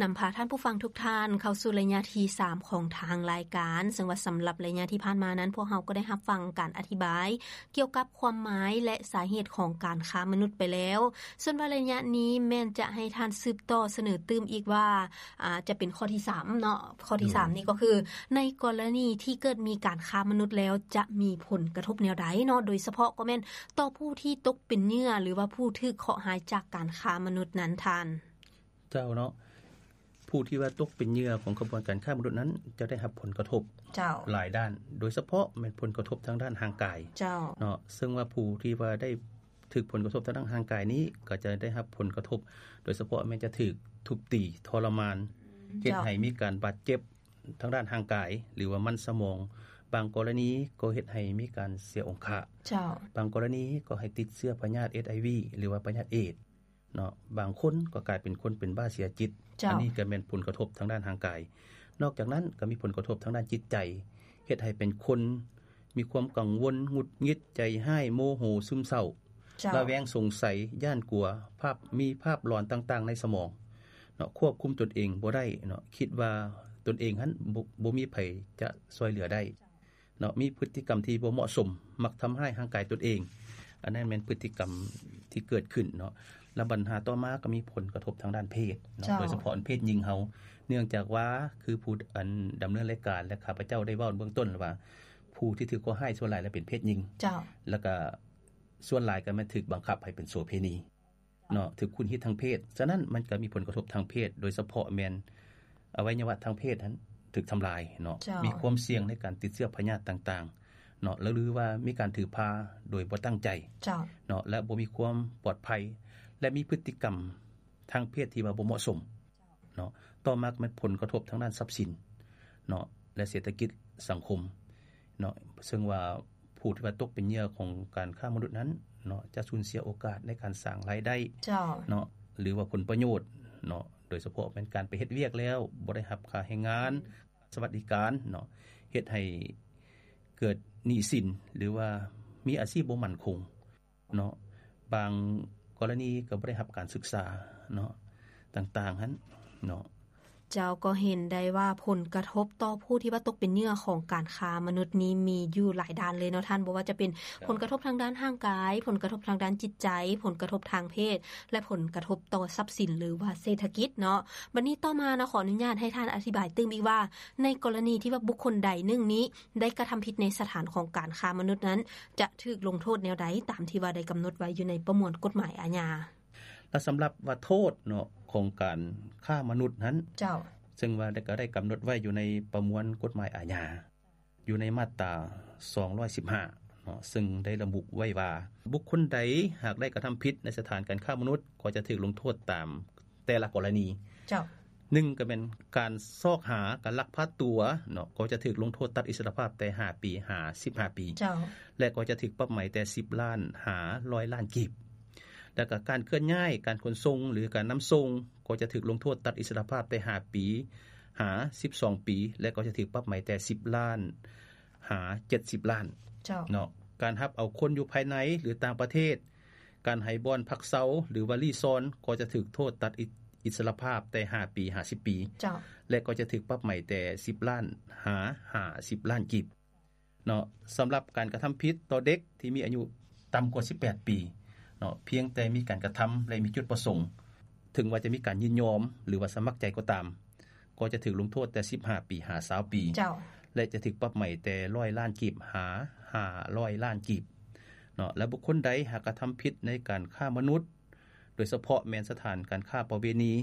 ນຳພາທ່ານຜູ້ຟັງທຸກທ່ານເຂົ້າສູ່ໄລຍະທີສາມຂອງທາງລາຍການ, ເຊິ່ງວ່າສຳລັບໄລຍະທີ່ຜ່ານມານັ້ນ ພວກເຮົາກໍໄດ້ຮັບຟັງການອະທິບາຍກ່ຽວກັບຄວາມໝາຍ ແລະ ສາເຫດຂອງການຄ້າມະນຸດໄປແລ້ວ. ສ່ວນວ່າໄລຍະນີ້ແມ່ນຈະໃຫ້ທ່ານສືບຕໍ່ສະເໜີຕື່ມອີກວ່າ ອາ ຈະເປັນຂໍ້ທີສາມເນາະ, ຂໍ້ທີສາມນີ້ກໍຄື ໃນກໍລະນີທີ່ເກີດມີການຄ້າມະນຸດແລ້ວ ຈະມີຜົນກະທົບແນວໃດເນາະ, ໂດຍສະເພາະກໍແມ່ນຕໍ່ຜູ້ທີ່ຕົກເປັນເຫຍື່ອ ຫຼືວ່າຜູ້ຖືກເຄາະຮ້າຍຈາກການຄ້າມະນຸດນັ້ນທ່ານ. ເຈົ້າເນາະ, ຜູ້ທີ່ວ່າຕົກເປັນເຫຍື່ອຂອງຂະບວນການຄ້າມະນຸດນັ້ນ ຈະໄດ້ຮັບຜົນກະທົບ ເຈົ້າ ຫຼາຍດ້ານ, ໂດຍສະເພາະແມ່ນຜົນກະທົບທາງດ້ານຮ່າງກາຍ ເຈົ້າ ເນາະ, ເຊິ່ງວ່າຜູ້ທີ່ວ່າໄດ້ຖືກຜົນກະທົບທາງດ້ານຮ່າງກາຍນີ້ ກໍຈະໄດ້ຮັບຜົນກະທົບ ໂດຍສະເພາະແມ່ນຈະຖືກທຸບຕີທໍລະມານ ເຮັດໃຫ້ມີການບາດເຈັບທາງດ້ານຮ່າງກາຍ ຫຼືວ່າມັນສະໝອງ, ບາງກໍລະນີກໍເຮັດໃຫ້ມີການເສຍອົງຄະ ເຈົ້າ ບາງກໍລະນີກໍໃຫ້ຕິດເຊື້ອພະຍາດ ເອັດໄອວີ ຫຼືວ່າພະຍາດເອດ ເນາະ, ບາງຄົນກໍກາຍເປັນຄົນເປັນບ້າເສຍຈິດ ເຈົ້າ ອັນນີ້ກໍແມ່ນຜົນກະທົບທາງດ້ານຮ່າງກາຍ. ນອກຈາກນັ້ນກໍມີຜົນກະທົບທາງດ້ານຈິດໃຈ ເຮັດໃຫ້ເປັນຄົນມີຄວາມກັງວົນ, ຫງຸດຫງິດ, ໃຈຮ້າຍ, ໂມໂຫ, ຊຶມເສົ້າ, ເຈົ້າ ລະແວງ, ສົງໄສ, ຢ້ານກົວ, ພາບ, ມີພາບຫຼອນຕ່າງໆໃນສະໝອງເນາະ, ຄວບຄຸມຕົນເອງບໍ່ໄດ້ເນາະ, ຄິດວ່າຕົນເອງຫັ້ນບໍ່, ບໍ່ມີໃຜຈະຊ່ວຍເຫຼືອໄດ້ ເນາະ, ມີພຶດຕິກຳທີ່ບໍ່ເໝາະສົມ, ມັກທຳຮ້າຍຮ່າງກາຍຕົນເອງ, ອັນນັ້ນແມ່ນພຶດຕິກຳທີ່ເກີດຂຶ້ນເນາະ. ແລະບັນຫາຕໍ່ມາກໍມີຜົນກະທົບທາງດ້ານເພດເນາະ, ເຈົ້າ ໂດຍສະເພາະເພດຍິງເຮົາ, ເນື່ອງຈາກວ່າຄືຜູ້ອັນດຳເນີນລາຍການ ແລະ ຂ້າພະເຈົ້າໄດ້ເວົ້າເບື້ອງຕົ້ນວ່າ ຜູ້ທີ່ຖືກເຄາະຮ້າຍສ່ວນຫຼາຍແລ້ວເປັນເພດຍິງ, ເຈົ້າ ແລ້ວກະສ່ວນຫຼາຍກໍແມ່ນຖືກບັງຄັບໃຫ້ເປັນໂສເພນີ ເນາະ, ຖືກຂູດຮີດທາງເພດ. ສະນັ້ນມັນກໍມີຜົນກະທົບທາງເພດ, ໂດຍສະເພາະແມ່ນອະໄວຍະວະທາງເພດຫັ້ນຖືກທຳລາຍເນາະ, ເຈົ້າ ມີຄວາມສ່ຽງໃນການຕິດເຊື້ອພະຍາດຕ່າງໆເນາະ, ແລະ ຫຼືວ່າມີການຖືພາໂດຍບໍ່ຕັ້ງໃຈ ເຈົ້າ ເນາະ, ແລະ ບໍ່ມີຄວາມປອດໄພ ແລະ ມີພຶດຕິກຳທາງເພດທີ່ວ່າບໍ່ເໝາະສົມ ເນາະ. ຕໍ່ມາກໍແມ່ນຜົນກະທົບທາງດ້ານຊັບສິນເນາະ ແລະ ເສດຖະກິດສັງຄົມເນາະ, ເຊິ່ງວ່າຜູ້ທີ່ວ່າຕົກເປັນເຫຍື່ອຂອງການຄ້າມະນຸດນັ້ນເນາະ ຈະສູນເສຍໂອກາດໃນການສ້າງລາຍໄດ້ ເຈົ້າ ເນາະ ຫຼືວ່າຜົນປະໂຫຍດເນາະ, ໂດຍສະເພາະແມ່ນການໄປເຮັດວຽກແລ້ວບໍ່ໄດ້ຮັບຄ່າແຮງງານ, ສະຫວັດດີການເນາະ, ເຮັດໃຫ້ເກີດໜີ້ສິນ ຫຼືວ່າມີອາຊີບບໍ່ໝັ້ນຄົງ ເນາະ, ບາງກໍລະນີກໍບໍ່ໄດ້ຮັບການສຶກສາເນາະ ຕ່າງໆຫັ້ນເນາະ. ເຈົ້າ ກໍເຫັນໄດ້ວ່າຜົນກະທົບຕໍ່ຜູ້ທີ່ວ່າຕົກເປັນເຫຍື່ອຂອງການຄ້າມະນຸດນີ້ມີຢູ່ຫຼາຍດ້ານເລີຍເນາະທ່ານ, ບໍ່ວ່າຈະເປັນ ເຈົ້າ ຜົນກະທົບທາງດ້ານຮ່າງກາຍ, ຜົນກະທົບທາງດ້ານຈິດໃຈ, ຜົນກະທົບທາງເພດ ແລະ ຜົນກະທົບຕໍ່ຊັບສິນ ຫຼືວ່າເສດຖະກິດເນາະ. ບັດນີ້ຕໍ່ມາເນາະ ຂໍອະນຸຍາດໃຫ້ທ່ານອະທິບາຍຕື່ມອີກວ່າ ໃນກໍລະນີທີ່ວ່າບຸກຄົນໃດໜຶ່ງນີ້ໄດ້ກະທຳຜິດໃນສະຖານຂອງການຄ້າມະນຸດນັ້ນ ຈະຖືກລົງໂທດແນວໃດ ຕາມທີ່ວ່າໄດ້ກຳນົດໄວ້ຢູ່ໃນປະມວນກົດໝາຍອາຍາ? ແລະສຳລັບວ່າໂທດເນາະ ຂອງການຄ້າມະນຸດຫັ້ນ ເຈົ້າ ເຊິ່ງວ່າໄດ້ ກໍໄດ້ກຳນົດໄວ້ຢູ່ໃນປະມວນກົດໝາຍອາຍາ ຢູ່ໃນມາດຕາສອງຮ້ອຍສິບຫ້າເນາະ, ເຊິ່ງໄດ້ລະບຸໄວ້ວ່າ ບຸກຄົນໃດຫາກໄດ້ກະທຳຜິດໃນສະຖານການຄ້າມະນຸດ ກໍຈະຖືກລົງໂທດຕາມແຕ່ລະກໍລະນີ. ເຈົ້າ ໜຶ່ງ ກໍແມ່ນການຊອກຫາ ການລັກພາຕົວເນາະ, ກໍຈະຖືກລົງໂທດຕັດອິດສະຫຼະພາບແຕ່ຫ້າປີຫາສິບຫ້າປີ. ເຈົ້າ ແລະ ກໍຈະຖືກປັບໃໝແຕ່ສິບລ້ານຫາຮ້ອຍລ້ານກີບ. ແລ້ວກໍການເຄື່ອນຍ້າຍ, ການຂົນສົ່ງ ຫຼື ການນຳສົ່ງ ກໍຈະຖືກລົງໂທດຕັດອິດສະຫຼະພາບແຕ່ຫ້າປີຫາສິບສອງປີ ແລະ ກໍຈະຖືກປັບໃໝແຕ່ສິບລ້ານຫາເຈັດສິບລ້ານ. ເຈົ້າ ເນາະ, ການຮັບເອົາຄົນຢູ່ພາຍໃນ ຫຼື ຕ່າງປະເທດ, ການໃຫ້ບ່ອນພັກເຊົາ ຫຼືວ່າລີ້ຊ່ອນ ກໍຈະຖືກໂທດຕັດອິດ ອິດສະຫຼະພາບແຕ່ຫ້າປີຫາສິບປີ. ເຈົ້າ ແລະ ກໍຈະຖືກປັບໃໝແຕ່ສິບລ້ານຫາຫ້າສິບລ້ານກີບເນາະ. ສຳລັບການກະທຳຜິດຕໍ່ເດັກທີ່ມີອາຍຸຕ່ຳກວ່າສິບແປດປີເນາະ, ພຽງແຕ່ມີການກະທຳ ແລະ ມີຈຸດປະສົງ, ເຖິງວ່າຈະມີການຍິນຍອມ ຫຼືວ່າສະໝັກໃຈກໍຕາມ, ກໍຈະຖືກລົງໂທດແຕ່ສິບຫ້າປີຫາຊາວປີ. ເຈົ້າ ແລະ ຈະຖືກປັບໃໝແຕ່ຮ້ອຍລ້ານກີບຫາຫ້າຮ້ອຍລ້ານກີບເນາະ. ແລະ ບຸກຄົນໃດຫາກກະທຳຜິດໃນການຄ້າມະນຸດ, ໂດຍສະເພາະແມ່ນສະຖານການຄ້າປະເວນີ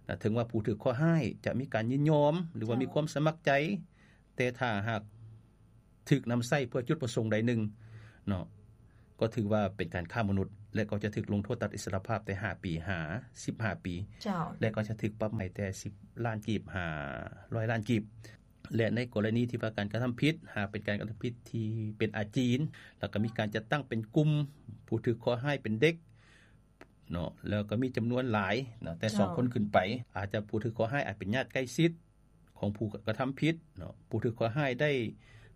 ນະ, ເຖິງວ່າຜູ້ຖືກເຄາະຮ້າຍຈະມີການຍິນຍອມ ຫຼືວ່າ ເຈົ້າ ມີຄວາມສະໝັກໃຈ, ແຕ່ຖ້າຫາກຖືກນຳໃຊ້ເພື່ອຈຸດປະສົງໃດໜຶ່ງເນາະ, ກໍຖືວ່າເປັນການຄ້າມະນຸດ ແລະ ກໍຈະຖືກລົງໂທດຕັດອິດສະຫຼະພາບແຕ່ຫ້າປີຫາສິບຫ້າປີ. ເຈົ້າ ແລະ ກໍຈະຖືກປັບໃໝແຕ່ສິບລ້ານກີບຫາຮ້ອຍລ້ານກີບ. ແລະ ໃນກໍລະນີທີ່ວ່າການກະທຳຜິດ ຫາກເປັນການກະທຳຜິດທີ່ເປັນອາຈີນ ແລ້ວກໍມີການຈັດຕັ້ງເປັນກຸ່ມ, ຜູ້ຖືກເຄາະຮ້າຍເປັນເດັກເນາະ, ແລ້ວກໍມີຈຳນວນຫຼາຍເນາະ, ແຕ່ ເຈົ້າ ສອງຄົນຂຶ້ນໄປ, ອາດຈະຜູ້ຖືກເຄາະຮ້າຍອາດເປັນຍາດໃກ້ຊິດຂອງຜູ້ກະທຳຜິດເນາະ, ຜູ້ຖືກເຄາະຮ້າຍໄດ້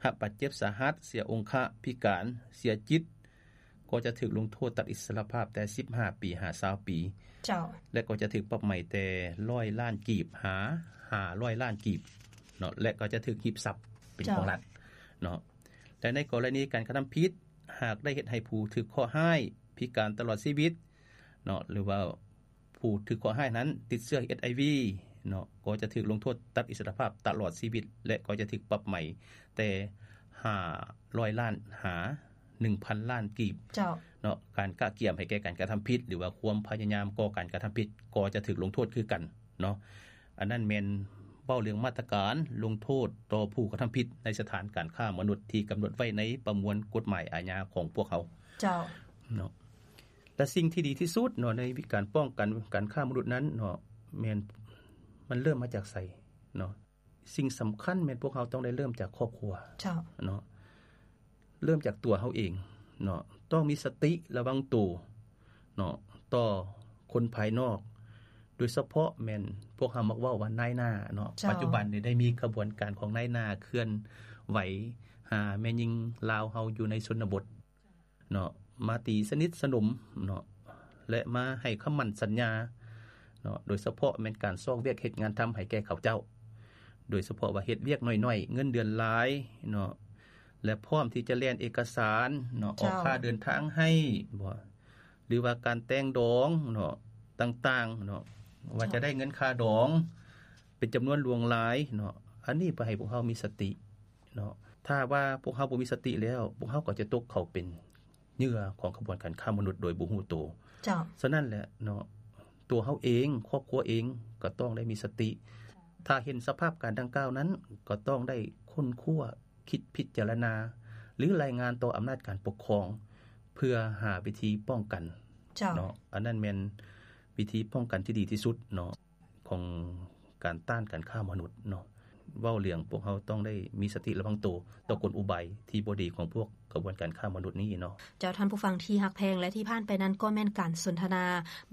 ຮັບບາດເຈັບສາຫັດ, ເສຍອົງຄະ, ພິການ, ເສຍຈິດ, ກໍຈະຖືກລົງໂທດຕັດອິດສະຫຼະພາບແຕ່ສິບຫ້າປີຫາຊາວປີ ເຈົ້າ ແລະກໍຈະຖືກປັບໃໝແຕ່ຮ້ອຍລ້ານກີບຫາຫ້າຮ້ອຍລ້ານກີບເນາະ ແລະກໍຈະຖືກຮີບຊັບເປັນຂອງລັດເນາະ ແລະໃນກໍລະນີການກະທຳຜິດ ຫາກໄດ້ເຮັດໃຫ້ຜູ້ຖືກເຄາະຮ້າຍພິການຕະຫຼອດຊີວິດເນາະ ຫຼືວ່າ ຜູ້ຖືກເຄາະຮ້າຍນັ້ນຕິດເຊື້ອ ເອັດໄອວີ ເນາະ ກໍຈະຖືກລົງໂທດຕັດອິດສະຫຼະພາບຕະຫຼອດຊີວິດ ແລະກໍຈະຖືກປັບໃໝແຕ່ຫ້າຮ້ອຍລ້ານຫາໜຶ່ງພັນລ້ານກີບ ເຈົ້າ ເນາະ ການກະກຽມໃຫ້ແກ່ການກະທຳຜິດ ຫຼືວ່າຄວາມພະຍາຍາມກໍ່ການກະທຳຜິດ ກໍຈະຖືກລົງໂທດຄືກັນເນາະ ອັນນັ້ນແມ່ນເວົ້າເລື່ອງມາດຕະການລົງໂທດຕໍ່ຜູ້ກະທຳຜິດໃນສະຖານການຄ້າມະນຸດທີ່ກຳນົດໄວ້ໃນປະມວນກົດໝາຍອາຍາຂອງພວກເຮົາ ເຈົ້າ ເນາະ. ແລະສິ່ງທີ່ດີທີ່ສຸດເນາະ ໃນການປ້ອງກັນການຄ້າມະນຸດນັ້ນເນາະ ແມ່ນມັນເລີ່ມມາຈາກໃສເນາະ ສິ່ງສຳຄັນແມ່ນພວກເຮົາຕ້ອງໄດ້ເລີ່ມຈາກຄອບຄົວ ເຈົ້າ ເນາະ ເລີ່ມຈາກຕົວເຮົາເອງເນາະ ຕ້ອງມີສະຕິລະວັງໂຕເນາະ ຕໍ່ຄົນພາຍນອກ ໂດຍສະເພາະແມ່ນພວກເຮົາມັກເວົ້າວ່ານາຍໜ້າເນາະ ເຈົ້າ ປັດຈຸບັນນີ້ໄດ້ມີຂະບວນການຂອງນາຍໜ້າເຄື່ອນໄຫວຫາແມ່ຍິງລາວເຮົາຢູ່ໃນຊົນນະບົດ ເນາະ ມາຕີສະໜິດສະໜົມເນາະ ແລະມາໃຫ້ຄຳໝັ້ນສັນຍາເນາະ ໂດຍສະເພາະແມ່ນການຊອກວຽກເຮັດງານທຳໃຫ້ແກ່ເຂົາເຈົ້າ ໂດຍສະເພາະວ່າເຮັດວຽກໜ້ອຍໆ ເງິນເດືອນຫຼາຍເນາະ ແລະພ້ອມທີ່ຈະແລ່ນເອກະສານເນາະ ເຈົ້າ ອອກຄ່າເດີນທາງໃຫ້ບໍ ຫຼືວ່າການແຕ່ງດອງເນາະ ຕ່າງໆເນາະ ວ່າ ເຈົ້າ ຈະໄດ້ເງິນຄ່າດອງເປັນຈຳນວນຫຼວງຫຼາຍເນາະ ອັນນີ້ເພື່ອໃຫ້ພວກເຮົາມີສະຕິ ເນາະ ຖ້າວ່າພວກເຮົາບໍ່ມີສະຕິແລ້ວ ພວກເຮົາກໍຈະຕົກເຂົ້າເປັນເຫຍື່ອຂອງຂະບວນການຄ້າມະນຸດໂດຍບໍ່ຮູ້ໂຕ ເຈົ້າ ສະນັ້ນແຫຼະເນາະ ຕົວເຮົາເອງ ຄອບຄົວເອງກໍຕ້ອງໄດ້ມີສະຕິ ຖ້າເຫັນສະພາບການດັ່ງກ່າວນັ້ນ ກໍຕ້ອງໄດ້ຄົ້ນຄວ້າ ຄິດພິຈາລະນາ ຫຼື ລາຍງານຕໍ່ອຳນາດການປົກຄອງ ເພື່ອຫາວິທີປ້ອງກັນ ເຈົ້າ ເນາະ ອັນນັ້ນແມ່ນວິທີປ້ອງກັນທີ່ດີທີ່ສຸດເນາະ ຂອງການຕ້ານການຄ້າມະນຸດເນາະ ເວົ້າເລື່ອງພວກເຮົາຕ້ອງໄດ້ມີສະຕິລະວັງໂຕຕໍ່ກົນອຸບາຍທີ່ບໍ່ດີຂອງພວກຂະບວນການຄ້າມະນຸດນີ້ເນາະ. ເຈົ້າ ທ່ານຜູ້ຟັງທີ່ຮັກແພງ ແລະທີ່ຜ່ານໄປນັ້ນກໍແມ່ນການສົນທະນາ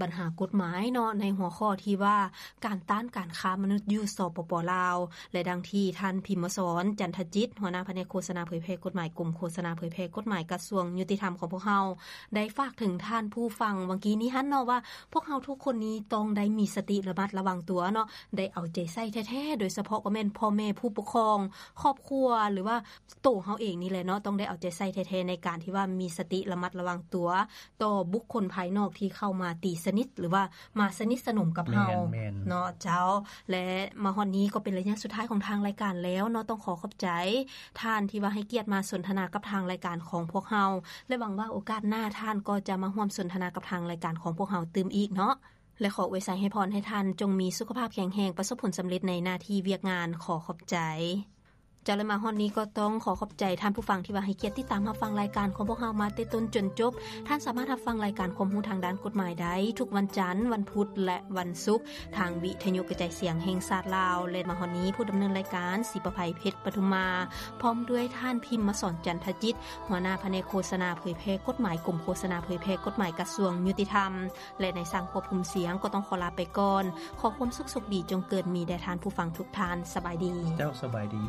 ບັນຫາກົດໝາຍເນາະ ໃນຫົວຂໍ້ທີ່ວ່າການຕ້ານການຄ້າມະນຸດຢູ່ ສປປ ລາວ ແລະ ດັ່ງທີ່ທ່ານ ພິມມະສອນ ຈັນທະຈິດ ຫົວໜ້າພະແນກໂຄສະນາເຜີຍແຜ່ກົດໝາຍ ກົມໂຄສະນາເຜີຍແຜ່ກົດໝາຍ ກະຊວງຍຸຕິທຳຂອງພວກເຮົາ ໄດ້ຝາກເຖິງທ່ານຜູ້ຟັງຫວ່າງກີ້ນີ້ຫັ້ນເນາະ ວ່າພວກເຮົາທຸກຄົນນີ້ຕ້ອງໄດ້ມີສະຕິລະມັດລະວັງຕົວເນາະ ໄດ້ເອົາໃຈໃສ່ແທ້ໆ ໂດຍສະເພາະກໍແມ່ນພໍ່ແມ່ຜູ້ປົກຄອງ ຄອບຄົວ ຫຼືວ່າໂຕເຮົາເອງນີ້ແຫຼະເນາະ ຕ້ອງໄດ້ເອົາໃຈໃສ່ແທ້ໆ ໃນການທີ່ວ່າມີສະຕິລະມັດລະວັງຕົວຕໍ່ບຸກຄົນພາຍນອກທີ່ເຂົ້າມາຕີສະໜິດ ຫຼືວ່າມາສະໜິດສະໜົມກັບເຮົາ ແມ່ນໆ ເນາະເຈົ້າ. ແລະມາຮອດນີ້ກໍເປັນໄລຍະສຸດທ້າຍຂອງທາງລາຍການແລ້ວເນາະ ຕ້ອງຂໍຂອບໃຈ ທ່ານທີ່ວ່າໃຫ້ກຽດມາສົນທະນາກັບທາງລາຍການຂອງພວກເຮົາ ແລະຫວັງວ່າໂອກາດໜ້າທ່ານກໍຈະມາຮ່ວມສົນທະນາກັບທາງລາຍການຂອງພວກເຮົາຕື່ມອີກເນາະ ແລະຂໍອວຍໄຊໃຫ້ພອນໃຫ້ທ່ານຈົ່ງມີສຸຂະພາບແຂງແຮງ ປະສົບຜົນສຳເລັດໃນໜ້າທີ່ວຽກງານ. ຂໍຂອບໃຈ ເຈົ້າ ແລະມາຮອດນີ້ກໍຕ້ອງຂໍຂອບໃຈທ່ານຜູ້ຟັງທີ່ວ່າໃຫ້ກຽດຕິດຕາມຮັບຟັງລາຍການຂອງພວກເຮົາມາແຕ່ຕົ້ນຈົນຈົບ. ທ່ານສາມາດຮັບຟັງລາຍການຄວາມຮູ້ທາງດ້ານກົດໝາຍໄດ້ທຸກວັນຈັນ, ວັນພຸດ ແລະວັນສຸກ ທາງວິທະຍຸກະຈາຍສຽງແຫ່ງຊາດລາວ ແລະມາຮອດນີ້ຜູ້ດຳເນີນລາຍການ ສີປະໄພ ເພັດປະທຸມມາ ພ້ອມດ້ວຍທ່ານ ພິມມະສອນ ຈັນທະຈິດ ຫົວໜ້າພະແນກໂຄສະນາເຜີຍແຜ່ກົດໝາຍ ກົມໂຄສະນາເຜີຍແຜ່ກົດໝາຍ ກະຊວງຍຸຕິທຳ ແລະນາຍຊ່າງຄວບຄຸມສຽງ ກໍຕ້ອງຂໍລາໄປກ່ອນ. ຂໍຄວາມສຸກໂຊກດີຈົ່ງເກີດມີແດ່ທ່ານຜູ້ຟັງທຸກທ່ານ. ສະບາຍດີ. ເຈົ້າ ສະບາຍດີ.